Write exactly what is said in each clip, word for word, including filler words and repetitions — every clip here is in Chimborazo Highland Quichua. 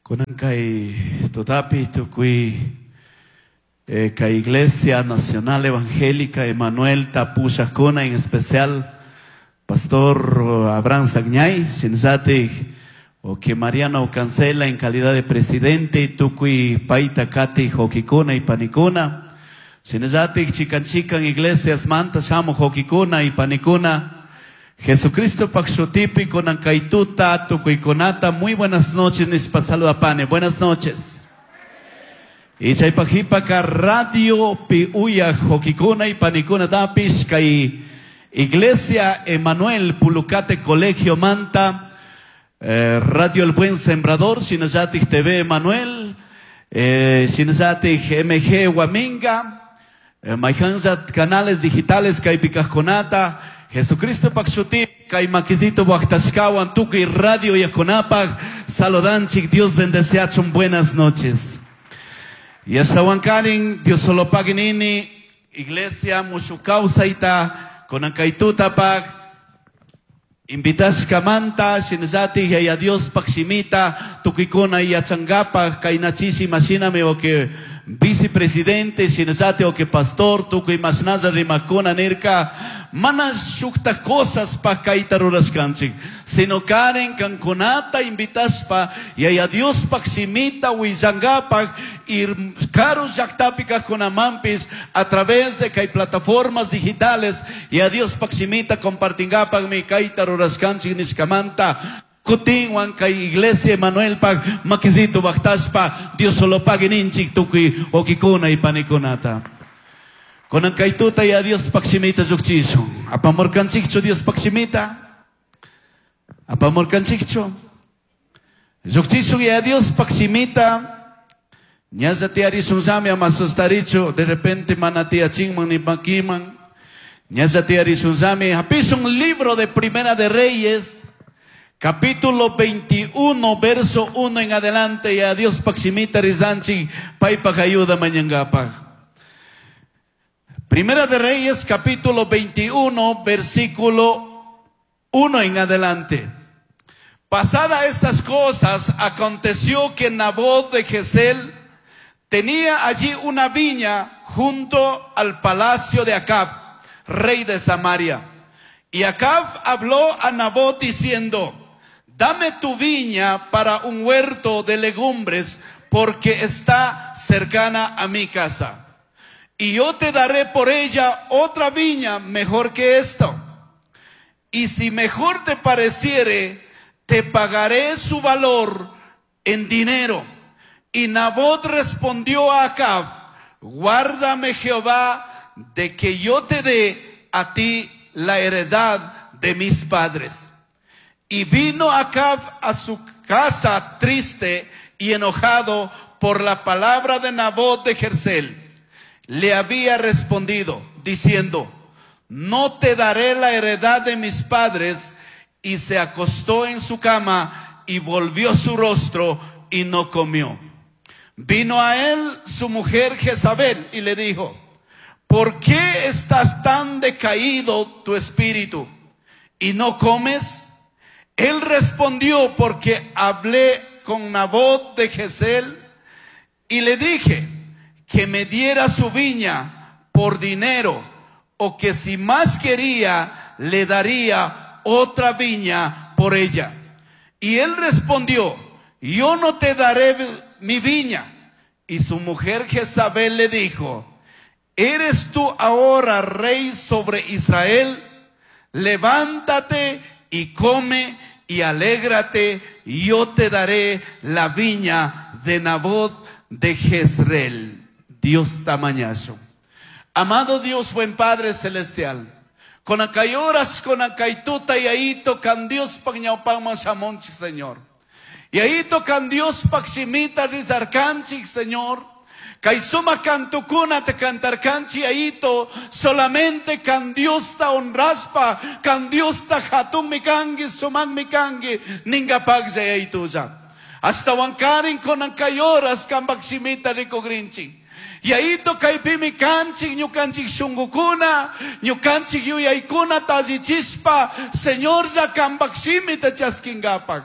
Kunan kay tutapi tukuy eh, kay Iglesia Nacional Evangélica Emanuel tapushajkuna, en especial Pastor Abraham Sagñay, shinallatik o que Mariano Cancela en calidad de presidente, tukuy payta katij wawkikuna y panikuna, shinallatik chikan chikan iglesias manta shamuj wawkikuna y panikuna, Jesucristo pak shutipi kunan kay tuta tukuykunata, muy buenas noches nishpa saludapani, buenas noches. Y chaypak jipaka radio pi uyaj wawkikuna y panikunatapish kay Iglesia Emanuel Pulucate Colegio Manta, eh, Radio El Buen Sembrador, shinallatik T V Emanuel, eh, shinallatik M G Huaminga, eh, mayhanlla canales digitales kaypi kajkunata, Jesucristo pak shuti, kay makisito waktashkawan tukuy radio uyajkunapak, saludanchik, Dios bendeciachun, buenas noches. Y ashtawankarin, Dios solo pagui nini, Iglesia Mushuj Kawsayta, kunan kay tutapak, invitashkamanta, shinallatik Yaya Dios pak shimita, tukuykuna yachangapak, kayna chishi mashinami o que vicepresidente, shinallatik o que pastor, tukuy mashnalla rimakuna nirka, mana shukta cosas pa kayta rurashkanchik, sino karen kankunata invitashpa, Yaya Dios pak shimita willangapak, ir karu llaktapi kajkunamanpish a través de kay plataformas digitales, Yaya Dios pak shimita compartingapakmi kayta rurashkanchik nishkamanta, kutinwan kay Iglesia Emanuel pak makisito waktashpa, Dios solo pagui ninchik tukuy wawkikuna y panikunata. Kunan kay tuta Yaya Dios pak shimita llukchishun. Apamurkanchikchu Dios pak shimita? Apamurkanchikchu? Llukchishun Yaya Dios pak shimita. Ñalla tiyarishunllami, ama sustarichu, de repente mana tiyachinman ni makiman. Ñalla tiyarishunllami, hapishun libro de Primera de Reyes, capítulo veintiuno, verso uno en adelante, Yaya Dios pak shimita rizanchik, paypak ayuda mañangapak. Primera de Reyes, capítulo veintiuno, versículo uno en adelante. Pasada estas cosas, aconteció que Nabot de Jezreel tenía allí una viña junto al palacio de Acab, rey de Samaria. Y Acab habló a Nabot diciendo: "Dame tu viña para un huerto de legumbres, porque está cercana a mi casa. Y yo te daré por ella otra viña mejor que esto. Y si mejor te pareciere, te pagaré su valor en dinero". Y Nabot respondió a Acab: "Guárdame Jehová de que yo te dé a ti la heredad de mis padres". Y vino Acab a su casa triste y enojado por la palabra de Nabot de Jezreel. Le había respondido diciendo: "No te daré la heredad de mis padres". Y se acostó en su cama y volvió su rostro y no comió. Vino a él su mujer Jezabel y le dijo: "¿Por qué estás tan decaído tu espíritu y no comes?". Él respondió: "Porque hablé con Nabot de Jezreel y le dije que me diera su viña por dinero o que si más quería le daría otra viña por ella. Y él respondió: 'Yo no te daré mi viña'". Y su mujer Jezabel le dijo: "¿Eres tú ahora rey sobre Israel? Levántate y come y alégrate, y yo te daré la viña de Nabot de Jezreel". Diosta mañashun. Amado Dios, buen Padre Celestial. Kunan kay horas, kunan kay tuta, Yayito, kan Dios pak ñawpakman shamunchik, Señor. Yayito, kan Dios pak shimita rizarkanchik, Señor. Kay sumak cantokuna te cantarkanchik, Yayito, solamente kan Diosta honrashpa, kan Diosta hatunmi kanki, sumakmi kanki, ningapaklla, Yayitolla. Ashtawankarin kunan kay horas kambak shimita rikugrinchik. Yayito, kaypimi kanchik, ñukanchik shungukuna, ñukanchik yuyaykuna tallichishpa, Señor, ya kambak shimita chaskingapak.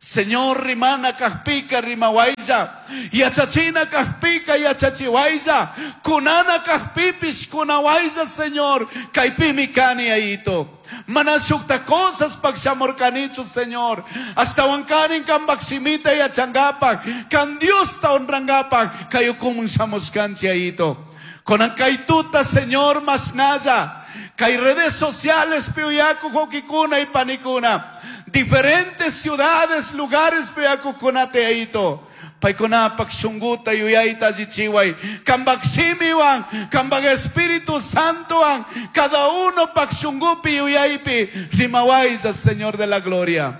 Señor rimana kajpika rimawaylla, yachachina kajpika yachachiwaylla, kunana kajpipis kunawaylla, Señor, kaypimi kani ayito. Mana shukta cosas pakshamurkanichu, Señor. Hasta wankarin kambak simita yachangapak, kan Dios ta honrangapak, kayukumun shamushkanchi ayito. Konan kaytuta, Señor, masnaya, kay redes sociales piuyaku hokikuna y panikuna. Diferentes ciudades, lugares piuyakukunate ayito. Paykunapak shunguta yuyayta allichiway. Kambak shimiwan, kambak Espíritu Santowan, cada uno pak shungupi yuyaypi, rimawaylla, Señor de la gloria.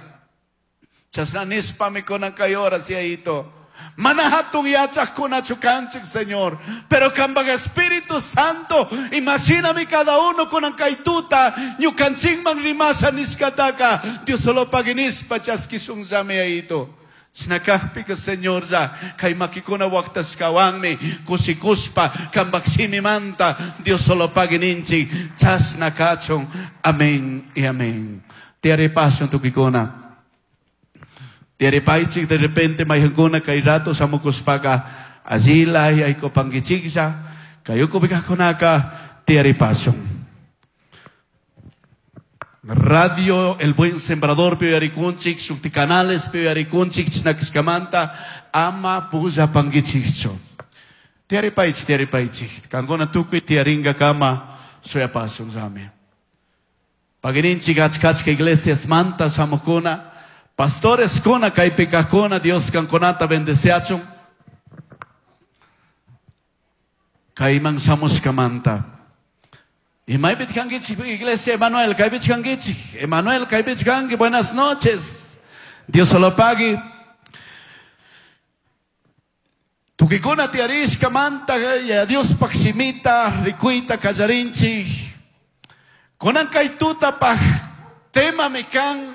Chasna nispami kunan kay horas yayito. Mana hatun yachaqkunachu kanchik, Señor. Pero kambak Espíritu Santo, imagíname cada uno kunan kay tuta, ñukanchikman rimasha nishkataka, Dios solo paginispa chaskishunllami yayito. Shinakajpika, Señor, ya, kay makikuna waqtashkawanmi, kushikuspa, kambak shimimanta, Dios solo pagininchik, chasna kachun. Amén y amén. Tiyaripashun tukikuna. Tiyaripaychik de repente mayhankuna kay rato shamukushpaka, allila yaykupankichiklla, kayukupikakunaka, tiyaripashun. Radio El Buen Sembrador piyarikunchik, shukti canales piyarikunchik, chinakishkamanta, ama pulla pankichikchu. Tiyaripaychik, tiyaripaychik. Kankuna tukuy tiyaringa kama shuyapashun llami. Pagininchik achkachka iglesias manta shamukuna, pastores kuna kaypikakuna, Dios kankunata bendeciachun. Kayman shamushkamanta. Y maybit kangichik, iglesia Emanuel, kaybit kangichik, Emanuel, kaybit kangi, buenas noches. Dios solo pague. Tukikuna tiarishka manta, ya Dios pakshimita, rikuita kallarinchik. Kunan kaytuta paj, tema mekan.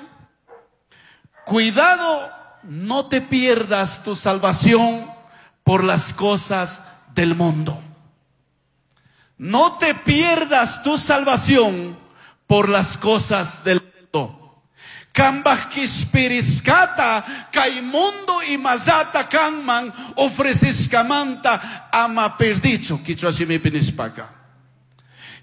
Cuidado, no te pierdas tu salvación por las cosas del mundo. No te pierdas tu salvación por las cosas del mundo. Kambaj kispiriskata, kay mundo imazata kanman, ofreciskamanta ama perdicho, kichwa shimipi nishpaka.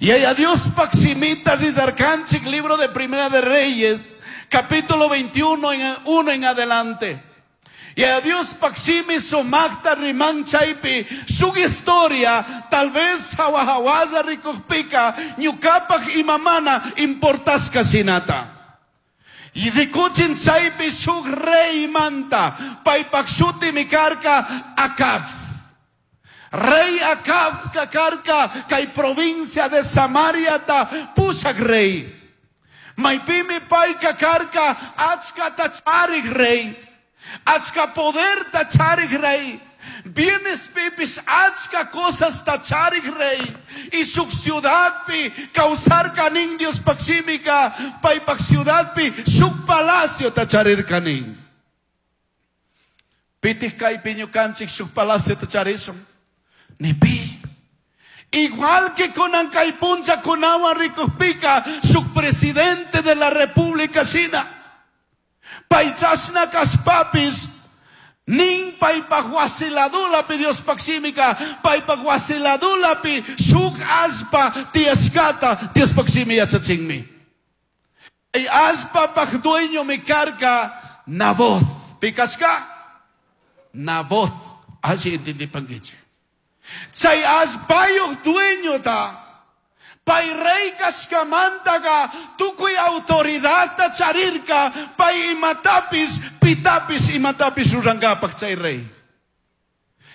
Y a Dios paximita rizarkanchik, libro de Primera de Reyes, capítulo veintiuno, en, uno en adelante. Y a Dios paximi sumakta riman chaypi, su historia, tal vez hawahawaza rikukpika, ñukapak imamana importasca sinata. Y rikuchin chaypi shuk rey manta, paypak shuti mikarka Acab. Rey Acab kakarka kay provincia de Samaria ta pushak rey. Maypimi pay kakarka achka tacharik rey. Achka poder tacharik rey. Bienes pipis achka cosas tacharik rey. Y su ciudad pi causar kanin Dios paximica paypak ciudad pi su palacio tacharir kanin. Pitih kay piñukanchik su palacio tacharison. Ni pi. Igual que con Ancaypuncha, con agua ricuspica, su presidente de la República China. Paychasna kaspapis, nin paypahuasiladulapi Dios paximica, paypahuasiladulapi shuk aspa tiaskata Dios paximi yachachinmi. Ay aspa paj dueño mi carga Nabot. Pikaska? Nabot. Así entendí panguiche. Chay aspayoj dueño ta. Pay rey kaskamantaka, tukuy autoridad ta charirka, pay imatapis, pitapis, imatapis rurangapak chay rey.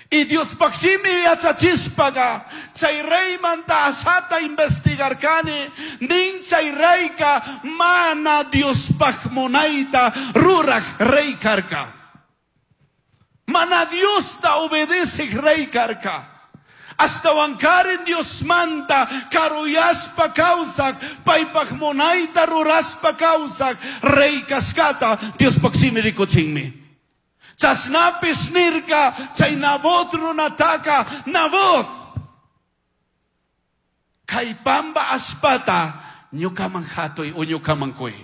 Y Dios paximi yachachispaga, chay rey manta asata investigarkani, nin chay reyka mana Dios pakmonaita rurak rey karka. Mana Dios ta obedece rey karka. Hasta wankarin Dios manta, karuyaspa causak, paypak monaita ruraspa causak, rey kaskata, Dios paksimi rikuchinmi. Chasnapis nirka, chay Nabot runataka, Nabot. Kay pamba aspata, ñukaman hatoy o ñukaman kuy.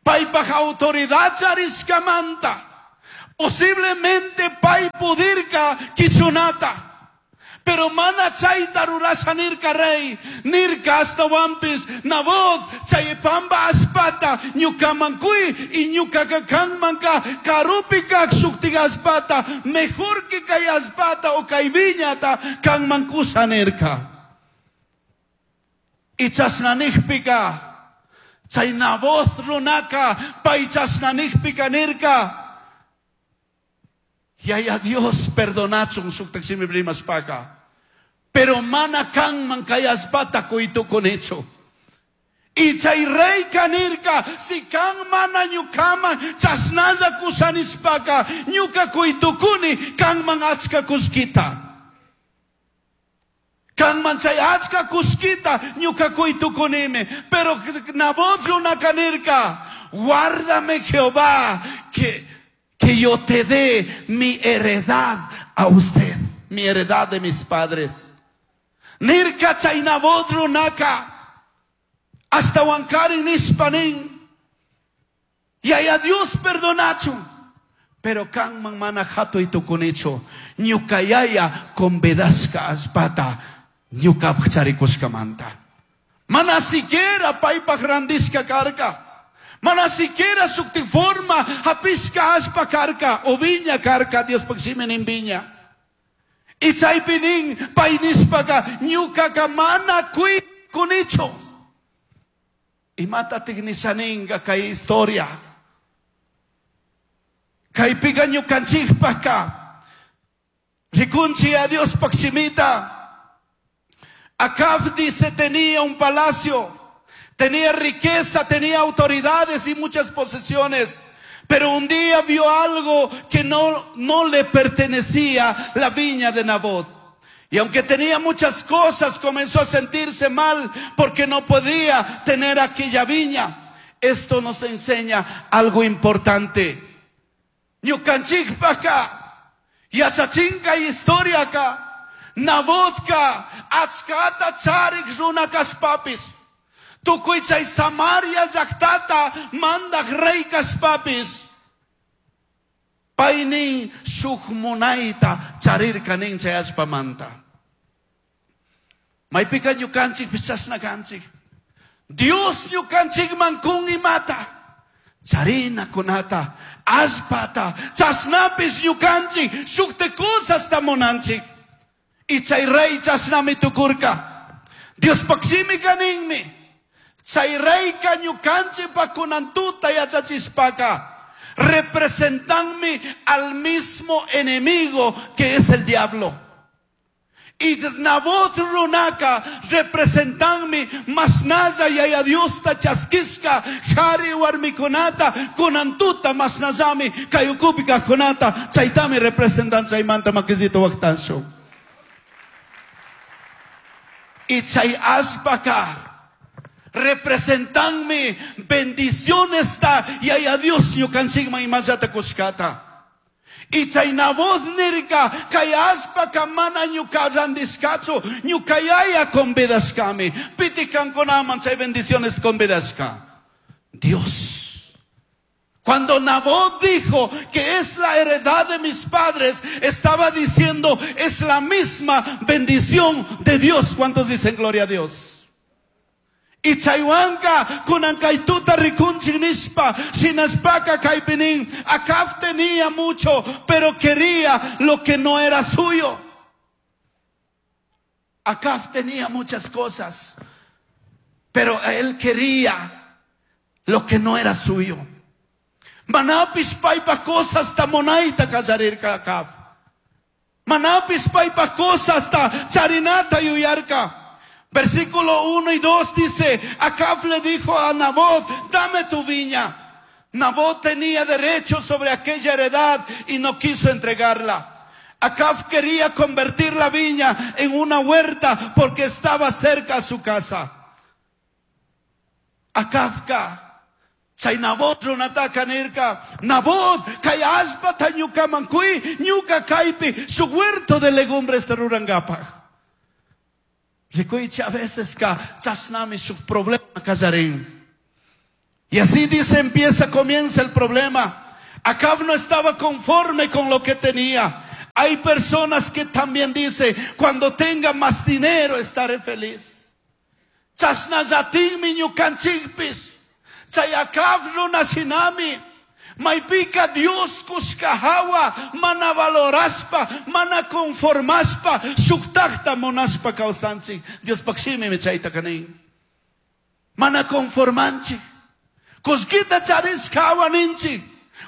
Paypaj autoridad charishkamanta. Posiblemente pay pudirka kichunata. Pero mana chayta rurasha nirka rey, nirka ashtawanpis, Nabot, chay pamba allpata, ñukaman kui, y ñukaka kanmanka, karupi kak shuktik allpata, mejor que kay allpata o kay viñata, kanman kusha nirka. Y chashna nijpika, chay Nabot runaka, pay chashna nijpika nirka, Yaya Dios perdonachun shuktak shimi rimashpaka. Pero mana kanman kay allpata kuytukunechu. Y chay reyka nirka, si kan mana ñukaman chashnalla kushanishpaka, ñuka kuytukuni kanman achka kullkita. Kanman chay achka kullkita ñuka kuytukunimi. Pero Nabot runaka nirka, guárdame Jehová, que, que yo te dé mi heredad a usted, mi heredad de mis padres. Nirka chay Nabot runaka, ashtawankarin nishpanin, Yaya Dios perdonachun, pero kanman mana hatuy tukunichu, ñuka yaya convidashka allpata, ñukapaj charikushkamanta. Mana siquiera paypaj randishka karka. Mana siquiera shukti forma hapishka allpa karka, o viña karka, Diospaj shimi nin viña. Y chaypi nin, pay nishpaka, ñukaka mana kui kunichu. Imatatik nishaninga kay historia. Kaypiqa ñukanchikpajka. Rikunchi a Diospaj shimita. Acab dice tenía un palacio, tenía riqueza, tenía autoridades y muchas posesiones. Pero un día vio algo que no, no le pertenecía, la viña de Nabot. Y aunque tenía muchas cosas, comenzó a sentirse mal porque no podía tener aquella viña. Esto nos enseña algo importante. Ñukanchikpajka, yachachinka historiaka, Nabotka, achkata charik runa kashpapis. Tukuy chay Samaria llaqtata mandaj rey kashpapis. Paynin shuk munayta charirka nin chay allpamanta. Maypika ñukanchikpis chashna kanchik. Dios ñukanchikman kun imata. Charina kunata, allpata, chashnapis ñukanchik, shukte cosasta munanchik. Y chay rey chashnami tukurka. Diospaj shimika ninmi. Chay reyka ñukanchikpa kunantuta yachachishpaka, representanmi al mismo enemigo que es el diablo. Y Nabot runaka representanmi masnalla yaya Diosta chaskishka jari warmikunata kunantuta masnallami kay ukupi kajkunata chaytami representan chaymanta makisito waqtanshu. Y chay allpaka representanmi bendiciones ta yaya Dios ñukanchikman imallata kushkata. Y chay Nabot nirka kay allpaka mana ñuka randishkachu ñuka yaya convidashkami. Piti kankunaman chay bendiciones convidashka. Dios. Cuando Nabot dijo que es la heredad de mis padres, estaba diciendo es la misma bendición de Dios. ¿Cuántos dicen gloria a Dios? Y chaywanka kunankaytuta rikunchik nishpa, shinashpaka kaypinin. Acab tenía mucho, pero quería lo que no era suyo. Acab tenía muchas cosas, pero él quería lo que no era suyo. Manapis paypa cosas ta munayta kallarirka Acab. Manapis paypa cosas ta charinata yuyarka. Versículo uno y dos dice, Acab le dijo a Nabot, dame tu viña. Nabot tenía derecho sobre aquella heredad y no quiso entregarla. Acab quería convertir la viña en una huerta porque estaba cerca a su casa. Acabka, chay Nabot runataka nirka, Nabot, kay allpata ñukaman kui, ñuka kaypi, su huerto de legumbres rurankapaj. Rikuychi a veces ka chashnami shuk problema kallarin. Y así dice, empieza, comienza el problema. Acab no estaba conforme con lo que tenía. Hay personas que también dicen, cuando tenga más dinero estaré feliz. Chashnallatikmi ñukanchikpish. Chay Acab runa shinami. Maipika Dios kushka hawa mana valoraspa, mana conformaspa, shuktakta munashpa kawsanchik. Diospaj shimimi chayta nin. Mana conformanchik. Kullkita charishka hawa ninchik.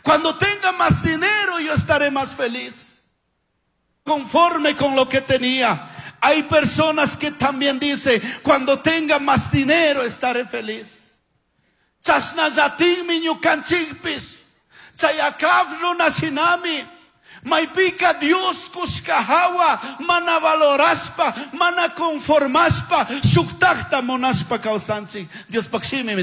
Cuando tenga más dinero yo estaré más feliz. Conforme con lo que tenía. Hay personas que también dicen, cuando tenga más dinero estaré feliz. Chashnallatikmi ñukanchikpish. Chay Acab runa shinami. Maipika Dios kushka hawa mana valoraspa, mana conformaspa, shuktakta munashpa kawsanchik. Diospaj shimimi